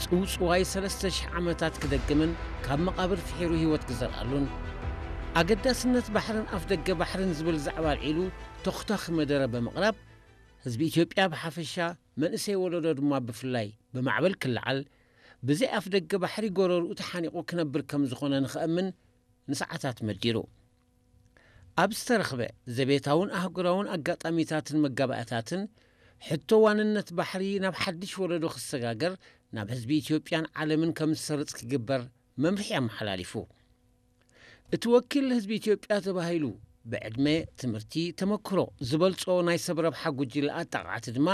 ጽውጽዋይ ሰለስተ ሽሕ ዓመታት ክደግምን ካብ መቓብር ፍሒሩ ህይወት ክዘርኣሉን፣ ኣገዳስነት ባሕርን ኣፍደገ ባሕርን ዝብል ዛዕባ ኣልዒሉ ተኹታኺ መደረ ብምቕራብ፣ ህዝቢ ኢትዮጵያ ብሓፈሻ፣ መንእሰይ ወለዶ ድማ ብፍላይ ብማዕበል ክለዓል፣ ብዘይ ኣፍደገ ባሕሪ ጎረርኡ ተሓኒቑ ክነብር ከም ዝኾነ ንኸእምን ንሰዓታት መዲሩ። ኣብ ዝተረኽበ ዘቤታውን ኣህጉራውን ኣጋጣሚታትን መጋባእታትን፣ ሕቶ ዋንነት ባሕሪ ናብ ሓድሽ ወለዶ ክሰጋገር ናብ ህዝቢ ኢትዮጵያን ዓለምን ከም ዝሰርጽ ክግበር መምርሒ ኣመሓላሊፉ። እቲ ወኪል ህዝቢ ኢትዮጵያ ተባሂሉ ብዕድመ፣ ትምህርቲ፣ ተመክሮ ዝበልጾ ናይ ሰብ ረብሓ ጉጅለ ኣጣቓዕቲ ድማ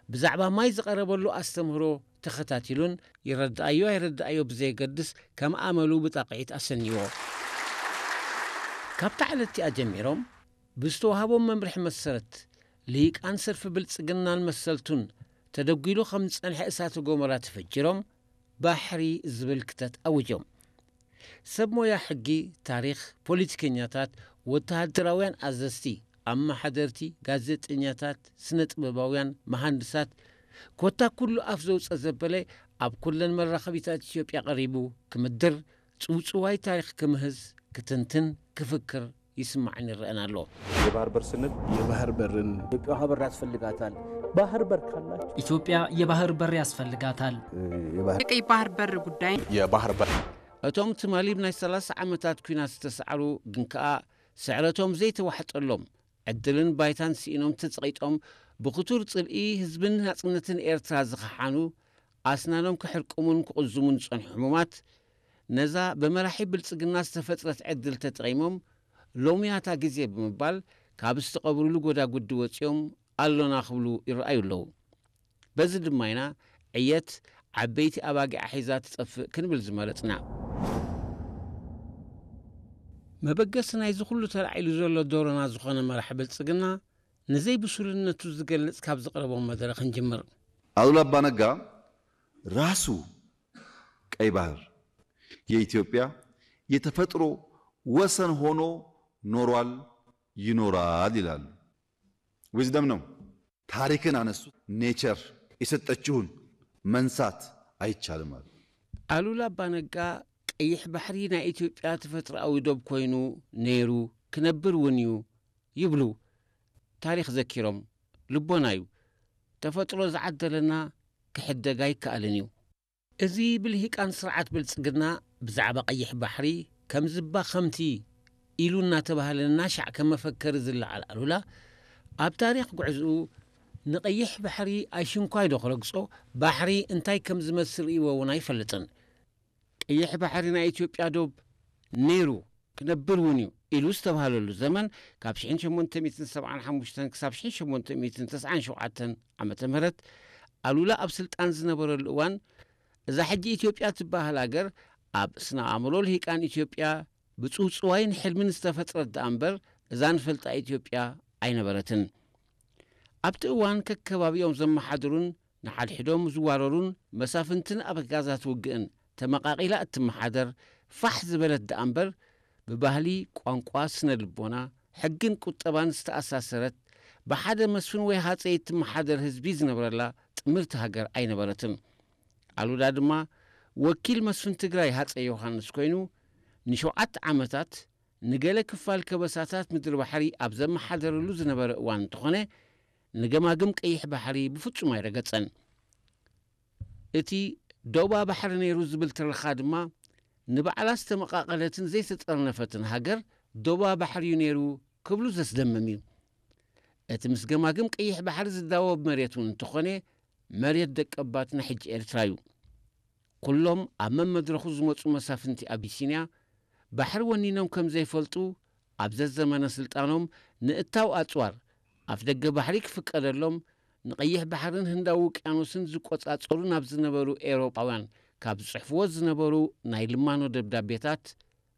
ብዛዕባ ማይ ዝቐረበሉ ኣስተምህሮ ተኸታቲሉን ይረድኣዮ ኣይረድኣዮ ብዘየገድስ ከም ኣመሉ ብጣቕዒት ኣሰንይዎ። ካብታ ዕለት እቲኣ ጀሚሮም ብዝተዋህቦም መምርሒ መሰረት ልሂቃን ሰልፊ ብልጽግናን መሰልቱን ተደጒሉ ከም ዝጸንሐ እሳተ ጎመራ ተፈጅሮም ባሕሪ ዝብል ክተት ኣውጆም። ሰብ ሞያ ሕጊ፣ ታሪኽ፣ ፖለቲከኛታት፣ ወተሃደራውያን ኣዘዝቲ፣ ኣመሓደርቲ፣ ጋዜጠኛታት፣ ስነ ጥበባውያን፣ መሃንድሳት፣ ኮታ ኩሉ ኣፍ ዘውፀ ዘበለ ኣብ ኩለን መራኸቢታት ኢትዮጵያ ቀሪቡ ክምድር፣ ጽውጽዋይ ታሪኽ ክምህዝ፣ ክትንትን፣ ክፍክር ይስማዕን ይረአን ኣሎ። የባህር በር ስንል የባህር በርን ኢትዮጵያ ውሃ በር ያስፈልጋታል። ባህር በር ካላችሁ ኢትዮጵያ የባህር በር ያስፈልጋታል። የባህር የቀይ ባህር በር ጉዳይ የባህር በር እቶም ትማሊ ብናይ ሰላሳ ዓመታት ኲናት ዝተሳዕሩ ግን ከኣ ስዕረቶም ዘይተዋሕጠሎም ዕድልን ባይታን ስኢኖም ተጸቒጦም ብኽቱር ጽልኢ ህዝብን ናጽነትን ኤርትራ ዝኸሓኑ ኣስናኖም ክሕርቅሙን ክቕዝሙን ዝጸንሑ ሕሙማት ነዛ ብመራሒ ብልጽግና ዝተፈጥረት ዕድል ተጠቒሞም ሎምያታ ግዜ ብምባል ካብ ዝተቐብሩሉ ጎዳጉዲ ወጺኦም ኣሎና ክብሉ ይረኣዩ ኣለዉ። በዚ ድማ ኢና ዕየት ዓበይቲ ኣባጊዓ ሒዛ ትጠፍእ ክንብል ዝመረጽና። መበገሲ ናይዚ ኩሉ ተላዒሉ ዘሎ ዶሮና ዝኾነ መራሒ ብልጽግና ንዘይብሱልነቱ ዝገልጽ ካብ ዘቕረቦም መደረ ክንጅምር። ኣሉላ ኣባነጋ ራሱ ቀይ ባህር የኢትዮጵያ የተፈጥሮ ወሰን ሆኖ ኖሯል፣ ይኖራል ይላሉ። ዊዝደም ነው። ታሪክን አነሱ። ኔቸር የሰጠችውን መንሳት አይቻልም አሉ። ኣሉላ ኣባነጋ ቀይሕ ባሕሪ ናይ ኢትዮጵያ ተፈጥሮኣዊ ዶብ ኮይኑ ነይሩ ክነብር እውን እዩ ይብሉ። ታሪኽ ዘኪሮም ልቦና እዩ። ተፈጥሮ ዝዓደለና ክሕደግ ኣይከኣልን እዩ። እዚ ብልሂቃን ስርዓት ብልጽግና ብዛዕባ ቀይሕ ባሕሪ ከም ዝባኸምቲ ኢሉ እናተባህለ እናሻዕ ከም መፈከሪ ዝለዓል ኣሉላ፣ ኣብ ታሪኽ ጉዕዝኡ ንቐይሕ ባሕሪ ኣይሽንኳይ ዶ ክረግጾ፣ ባሕሪ እንታይ ከም ዝመስል ርእይዎ እውን ኣይፈልጥን። ቀይሕ ባሕሪ ናይ ኢትዮጵያ ዶብ ነይሩ ክነብር እውን እዩ ኢሉ ዝተባህለሉ ዘመን ካብ ሽሕን ሸሞንተ ሚእትን ሰብዓን ሓሙሽተን ክሳብ ሽሕን ሸሞንተ ሚእትን ተስዓን ሸውዓተን ዓመተ ምህረት ኣሉላ ኣብ ስልጣን ዝነበረሉ እዋን እዛ ሕጂ ኢትዮጵያ ትበሃል ኣገር ኣብ ስነ ኣእምሮ ልሂቃን ኢትዮጵያ ብጽውጽዋይን ሕልምን ዝተፈጥረት ደኣ እምበር እዛ ንፈልጣ ኢትዮጵያ ኣይነበረትን። ኣብቲ እዋን ከከባቢኦም ዘመሓድሩን ንሓድሕዶም ዝዋረሩን መሳፍንትን ኣበጋዛት ውግእን ተመቓቒላ እትመሓደር ፋሕ ዝበለት ደኣ እምበር ብባህሊ፣ ቋንቋ፣ ስነ ልቦና፣ ሕግን ቁጠባን ዝተኣሳሰረት ብሓደ መስፍን ወይ ሃፀይ እትመሓደር ህዝቢ ዝነብረላ ጥምርቲ ሃገር ኣይነበረትን። ኣሉላ ድማ ወኪል መስፍን ትግራይ ሃፀይ ዮሃንስ ኮይኑ ንሸውዓተ ዓመታት ንገለ ክፋል ከበሳታት ምድሪ ባሕሪ ኣብ ዘመሓደረሉ ዝነበረ እዋን እንተኾነ ንገማግም ቀይሕ ባሕሪ ብፍጹም ኣይረገጸን። እቲ ዶባ ባሕሪ ነይሩ ዝብል ትረኻ ድማ ንባዕላ ዝተመቓቐለትን ዘይተጠርነፈትን ሃገር ዶባ ባሕሪ እዩ ነይሩ ክብሉ ዘስደምም እዩ። እቲ ምስ ገማግም ቀይሕ ባሕሪ ዝዳወብ መሬት እውን እንተኾነ መሬት ደቀባትና ሕጂ ኤርትራ እዩ። ኩሎም ኣብ መመድረኹ ዝመጹ መሳፍንቲ ኣቢሲንያ ባሕሪ ወኒኖም ከም ዘይፈልጡ ኣብ ዘዘመነ ስልጣኖም ንእታው ኣጽዋር ኣፍደገ ባሕሪ ክፍቀደሎም ንቐይሕ ባሕርን ህንዳዊ ውቅያኖስን ዝቆጻጸሩ ናብ ዝነበሩ ኤውሮጳውያን ካብ ዝጽሕፍዎ ዝነበሩ ናይ ልማኖ ደብዳቤታት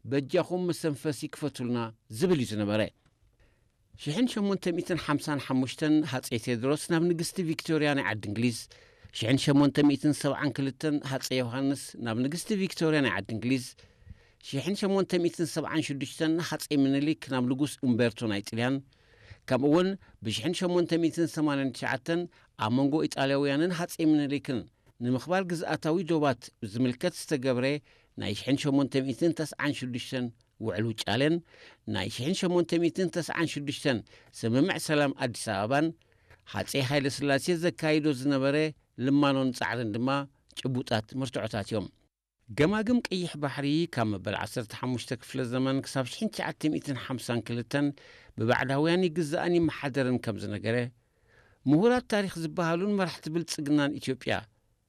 በጃኹም መሰንፈሲ ክፈቱልና ዝብል እዩ ዝነበረ። ሽሕን ሸሞንተ ሚእትን ሓምሳን ሓሙሽተን ሃፀይ ቴድሮስ ናብ ንግስቲ ቪክቶርያ ናይ ዓዲ እንግሊዝ፣ ሽሕን ሸሞንተ ሚእትን ሰብዓን ክልተን ሃፀይ ዮሃንስ ናብ ንግስቲ ቪክቶርያ ናይ ዓዲ እንግሊዝ፣ ሽሕን ሸሞንተ ሚእትን ሰብዓን ሽዱሽተን ሃፀይ ምኒልክ ናብ ንጉስ ኡምቤርቶ ናይ ጥልያን፣ ከምኡ እውን ብሽሕን ሸሞንተ ሚእትን ሰማንያን ትሽዓተን ኣብ መንጎ ኢጣልያውያንን ሃፀይ ምኒልክን ንምኽባር ግዝኣታዊ ዶባት ዝምልከት ዝተገብረ ናይ ሽሕን ሸሞንተ ሚእትን ተስዓን ሽዱሽተን ውዕል ውጫሌን ናይ ሽሕን ሸሞንተ ሚእትን ተስዓን ሽዱሽተን ስምምዕ ሰላም ኣዲስ ኣበባን ሃፀይ ሃይለ ስላሴ ዘካይዶ ዝነበረ ልማኖን ጻዕርን ድማ ጭቡጣት መርትዖታት እዮም። ገማግም ቀይሕ ባሕሪ ካብ መበል ዓሰርተ ሓሙሽተ ክፍለ ዘመን ክሳብ ሽሕን ትሽዓተ ሚእትን ሓምሳን ክልተን ብባዕዳውያን ይግዛእን ይመሓደርን ከም ዝነገረ፣ ምሁራት ታሪኽ ዝበሃሉን መራሕቲ ብልጽግናን ኢትዮጵያ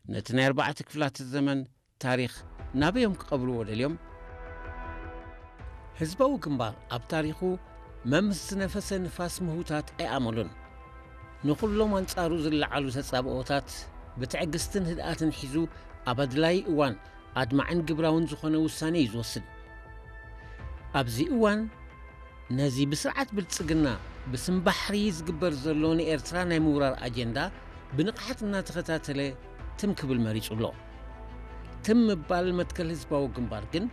ነቲ ናይ ኣርባዕተ ክፍላተ ዘመን ታሪኽ ናበዮም ክቐብርዎ ደልዮም? ህዝባዊ ግንባር ኣብ ታሪኹ መምስ ዝነፈሰ ንፋስ ምህውታት ኣይኣመሉን። ንኹሎም ኣንጻሩ ዝለዓሉ ተጻብኦታት ብትዕግስትን ህድኣትን ሒዙ ኣብ ኣድላዪ እዋን ኣድማዕን ግብራውን ዝኾነ ውሳኔ እዩ ዝወስድ። ኣብዚ እዋን ነዚ ብስርዓት ብልጽግና ብስም ባሕሪ ዝግበር ዘሎ ንኤርትራ ናይ ምውራር ኣጀንዳ ብንቕሓት እናተኸታተለ ትም ክብል መሪጹ ኣሎ። ትም ምባል መትከል ህዝባዊ ግንባር ግን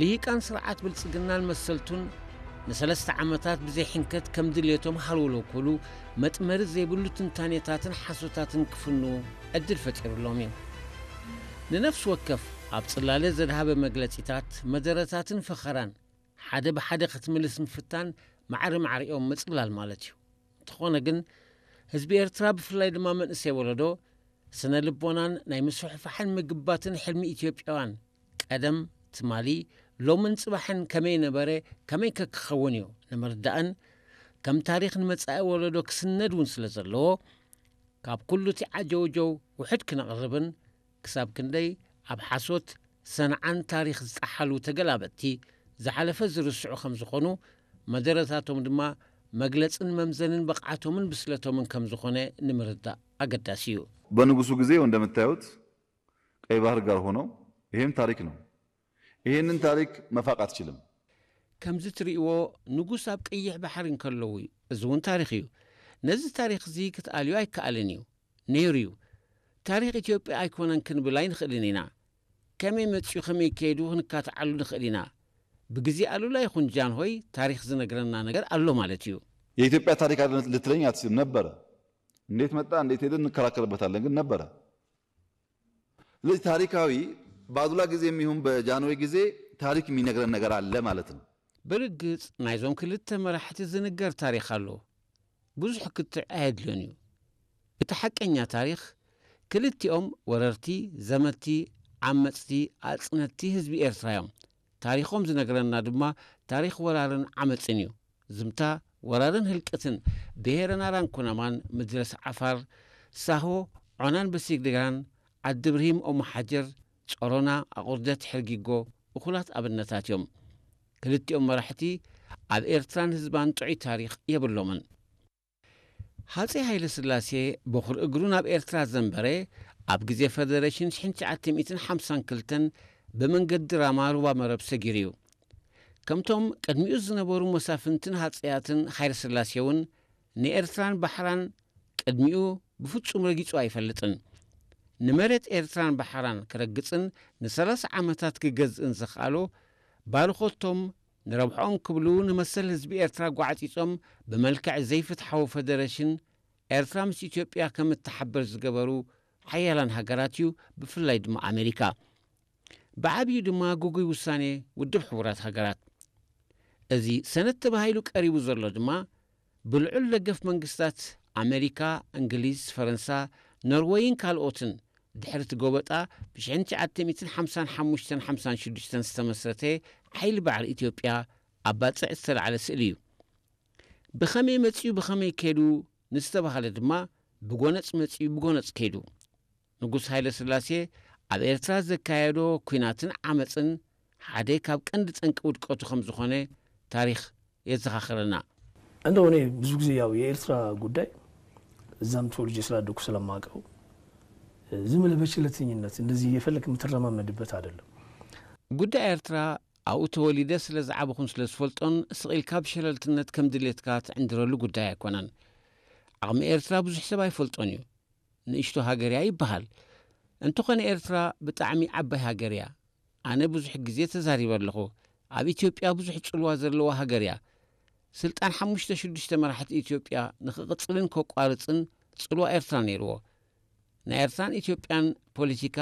ልሂቃን ስርዓት ብልጽግናን መሰልቱን ንሰለስተ ዓመታት ብዘይ ሕንከት ከም ድልየቶም ሃልወሎ ክብሉ መጥመሪ ዘይብሉ ትንታኔታትን ሓሶታትን ክፍኑ ዕድል ፈጢሩሎም እዩ። ንነፍሲ ወከፍ ኣብ ጽላለ ዘድሃበ መግለጺታት፣ መደረታትን ፈኸራን ሓደ ብሓደ ክትምልስ ምፍታን ማዕረ ማዕሪኦም ምጽላል ማለት እዩ። እንተኾነ ግን ህዝቢ ኤርትራ ብፍላይ ድማ መንእሰይ ወለዶ ስነ ልቦናን ናይ ምስፍሕፋሕን ምግባትን ሕልሚ ኢትዮጵያውያን ቀደም ትማሊ ሎምን ጽባሕን ከመይ ነበረ ከመይ ከ ክኸውን እዩ ንምርዳእን ከም ታሪኽ ንመጻኢ ወለዶ ክስነድ እውን ስለ ዘለዎ ካብ ኩሉ እቲ ዓጀውጀው ውሕድ ክነቕርብን ክሳብ ክንደይ ኣብ ሓሶት ሰንዓን ታሪኽ ዝጠሓሉ ተገላበጥቲ ዝሓለፈ ዝርስዑ ከም ዝኾኑ መደረታቶም ድማ መግለጽን መምዘንን ብቕዓቶምን ብስለቶምን ከም ዝኾነ ንምርዳእ ኣገዳሲ እዩ። በንጉሱ ጊዜ እንደምታዩት ቀይ ባህር ጋር ሆነው ይሄም ታሪክ ነው። ይሄንን ታሪክ መፋቅ አትችልም። ከምዚ ትርእይዎ ንጉስ ኣብ ቀይሕ ባሕሪ እንከለዉ እዩ። እዚ እውን ታሪኽ እዩ። ነዚ ታሪኽ እዚ ክትኣልዮ ኣይከኣልን እዩ። ነይሩ እዩ። ታሪኽ ኢትዮጵያ ኣይኮነን ክንብል ኣይንኽእልን ኢና። ከመይ መጺኡ ከመይ ከይዱ ክንካትዓሉ ንኽእል ኢና። ብግዜ ኣሉላ ይኹን ጃንሆይ ታሪኽ ዝነግረና ነገር ኣሎ ማለት እዩ። የኢትዮጵያ ታሪክ አለ ልትለኝ አትችልም። ነበረ። እንዴት መጣ እንዴት ሄደ እንከራከርበታለን፣ ግን ነበረ። ስለዚህ ታሪካዊ በአሉላ ጊዜ የሚሆን በጃንሆይ ጊዜ ታሪክ የሚነግረን ነገር አለ ማለት ነው። ብርግጽ ናይዞም ክልተ መራሕቲ ዝንገር ታሪኽ ኣሎ። ብዙሕ ክትዕ ኣየድልዮን እዩ። እቲ ሓቀኛ ታሪኽ ክልቲኦም ወረርቲ፣ ዘመትቲ፣ ዓመጽቲ፣ ኣጽነትቲ ህዝቢ ኤርትራ እዮም። ታሪኾም ዝነግረና ድማ ታሪኽ ወራርን ዓመጽን እዩ። ዝምታ ወራርን ህልቅትን ብሄረ ናራን ኩናማን፣ ምድረስ ዓፋር፣ ሳሆ፣ ዖናን በሲግድጋን፣ ዓዲ ብርሂም ኦሞ ሓጀር፣ ጾሮና፣ ኣቑርደት፣ ሕርጊጎ እኹላት ኣብነታት እዮም። ክልቲኦም መራሕቲ ኣብ ኤርትራን ህዝባን ጥዑይ ታሪኽ የብሎምን። ሃፀይ ሃይለ ስላሴ በኹር እግሩ ናብ ኤርትራ ዘንበረ ኣብ ግዜ ፈደረሽን ሽሕን ትሽዓተ ሚእትን ሓምሳን ክልተን ብመንገዲ ራማ ሩባ መረብ ሰጊሩ እዩ። ከምቶም ቅድሚኡ ዝነበሩ መሳፍንትን ሃፀያትን ሃይለ ስላሴ እውን ንኤርትራን ባሕራን ቅድሚኡ ብፍጹም ረጊጹ ኣይፈልጥን። ንመሬት ኤርትራን ባሕራን ክረግጽን ንሰላሳ ዓመታት ክገዝእን ዘኽኣሎ ባርኾቶም ንረብሕኦም ክብሉ ንመሰል ህዝቢ ኤርትራ ጓዕጺጾም ብመልክዕ ዘይፍትሓዊ ፈደረሽን ኤርትራ ምስ ኢትዮጵያ ከም እትሓበር ዝገበሩ ሓያላን ሃገራት እዩ፣ ብፍላይ ድማ ኣሜሪካ። ብዓብዩ ድማ ግጉይ ውሳኔ ውድብ ሕቡራት ሃገራት። እዚ ሰነድ ተባሂሉ ቀሪቡ ዘሎ ድማ ብልዑል ደገፍ መንግስታት ኣሜሪካ፣ እንግሊዝ፣ ፈረንሳ፣ ኖርወይን ካልኦትን ድሕሪ እቲ ጎበጣ ብ ሽሕን ትሽዓተ ሚእትን ሓምሳን ሓሙሽተን ሓምሳን ሽዱሽተን ዝተመስረተ ሓይሊ ባዕሪ ኢትዮጵያ ኣብ ባጽዕ ዝተላዕለ ስእሊ እዩ። ብኸመይ መጺኡ ብኸመይ ከይዱ ንዝተባህለ ድማ ብጎነጽ መጺኡ ብጎነጽ ከይዱ። ንጉስ ሃይለ ስላሴ ኣብ ኤርትራ ዘካየዶ ኲናትን ዓመጽን ሓደ ካብ ቀንዲ ጠንቂ ውድቀቱ ከም ዝኾነ ታሪኽ የዘኻኽረና። እንደው እኔ ብዙ ጊዜ ያው የኤርትራ ጉዳይ እዛም ተወልጄ ስላደኩ ስለማውቀው ዝም ብለህ በቸለተኝነት እንደዚህ እየፈለክ የምትረማመድበት አይደለም። ጉዳይ ኤርትራ ኣብኡ ተወሊደ ስለ ዝዓበኹን ስለ ዝፈልጦን ስቕ ኢልካ ብሸለልትነት ከም ድሌትካ ትዕንድረሉ ጉዳይ ኣይኮነን። ዓቕሚ ኤርትራ ብዙሕ ሰብ ኣይፈልጦን እዩ። ንእሽቶ ሃገር እያ ይበሃል። እንተኾነ ኤርትራ ብጣዕሚ ዓባይ ሃገር እያ። ኣነ ብዙሕ ግዜ ተዛሪበ ኣለኹ። ኣብ ኢትዮጵያ ብዙሕ ጽልዋ ዘለዋ ሃገር እያ። ስልጣን ሓሙሽተ ሽዱሽተ መራሕቲ ኢትዮጵያ ንኽቕጽልን ከቋርጽን ጽልዋ ኤርትራ ነይርዎ። ናይ ኤርትራን ኢትዮጵያን ፖለቲካ